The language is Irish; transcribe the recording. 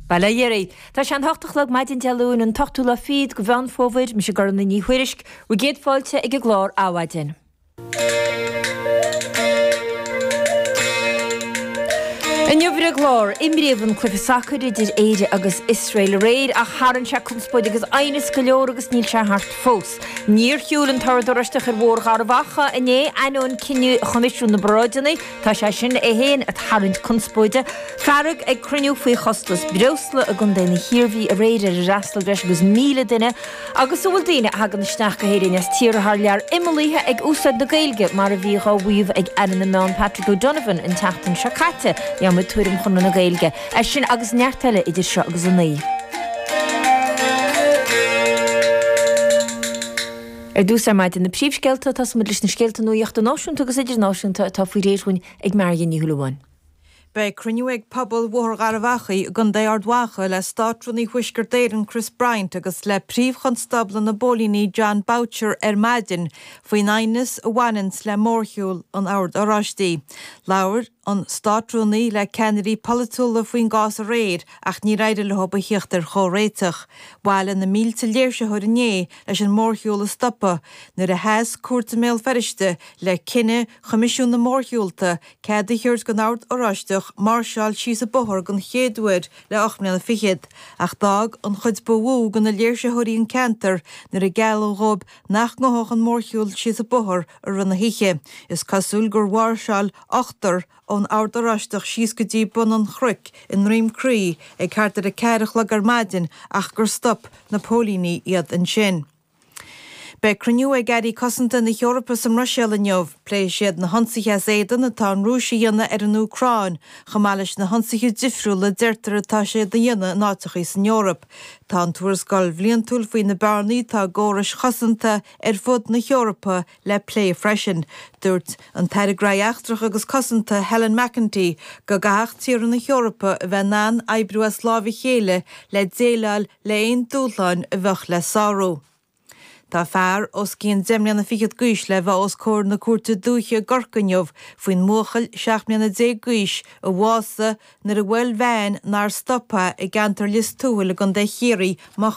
Bail ó Dhia oraibh. Tá sé an hocht a chlog maidin Dé Luain, an t-ochtú lá fichead de Mheán Fómhair. Mise Gormfhlaith Ní Thuairisg, bhur gcéad fáilte ag an gclár Adhmhaidin. Inniu ar an gclár, imríodh an cluiche sacair idir Éire agus Iosrael aréir ach tharraing sé conspóid agus aighneas go leor agus níl sé thart fós. Níor shiúil an tOrd Oráisteach ar Bhóthar Gharbh Achaidh inné, ainneoin cinneadh Choimisiún na bParáideanna. Tá sé sin é féin ag tarraingt conspóide. Fearg ag cruinniú faoi chostas breosla i gContae na hIarmhí aréir ar ar fhreastail breis agus 1,000 duine agus an bhfuil daoine a thagann isteach go hÉirinn as tíortha thar lear imeallaithe ag úsáid na Gaeilge mar a bhí dhá mhaíomh ag Aire na Meán Patrick O'Donovan an tseachtain seo caite. Gheobhaimid tuairim Chonradh na Gaeilge air sin agus neart eile idir seo agus a 9. Ar dtús ar maidin na príomhscéalta, tosóimid leis na scéalta nuachta náisiúnta agus idirnáisiúnta atá faoi réir dhúinn ag Marion Ní Shúilleabháin. Beidh cruinniú ag pobal Bhóthar Gharbh Achaidh i gContae Ard Mhacha le Státrúnaí Thuaisceart Éireann Chris Bryant agus le Príomh-Chonstábla na bPóilíní Jon Boutcher ar maidin faoin aighneas a bhaineanns le mórshiúl an Oird Oráistigh. Labhair an Státrúnaí le ceannairí polaitiúla faoin gcás aréir ach níor éirigh leo a thíocht ar chomhréiteach. Bhailigh na mílte léirsitheoir inné leis an mórshiúl a stopadh nuair a sheas cúirt i mBéal Feirste le cinneadh Choimisiún na Mórshiúlta cead a thabhairt don Ord Oráisteach máirseáil síos an bóthar den chéad uair le 8 mbliana fichead, ach d'fhág an chuid ba mhó de na léirsitheoirí an ceantar nuair a gealladh dhóibh nach ngabhfadh an mórshiúl síos an bóthar i rith na hoíche. Is cosúil gur mháirseáil ochtar ón Ord Oráisteach síos go dtí bun an chnoic i nDroim Crí ag thart ar a ceathair a chlog ar maidin ach gur stop na póilíní iad ansin. Beidh cruinniú ag airí cosanta na hEorpa sa mBruiséil inniu. Pléifidh siad na hionsaithe as éadan atá an Rúis a dhéanamh ar an Úcráin, chomh maith leis na hionsaithe difriúla a deirtear atá siad a dhéanamh in áiteachaí san Eoraip. Tá an tuarascáil bhliantúil faoi na bearnaí atá i gcórais chosanta ar fud na hEorpa le plé freisin. Dúirt an tAire Gnóthaí Eachtracha agus Cosanta Helen McEntee go gcaithfeadh tíortha na hEorpa a bheith in ann oibriú as láimh a chéile le déileáil le aon dúshláin a bheadh le sárú. Tá fear os cionn deich mbliana fichead d'aois le bheith os comhair na Cúirte Dúiche i gCorcaigh inniu faoin mbuachaill 17 mbliana d'aois a bhásaigh nuair a bhuail veain nár stop i gceantar Lios Tuathail i gContae Chiarraí.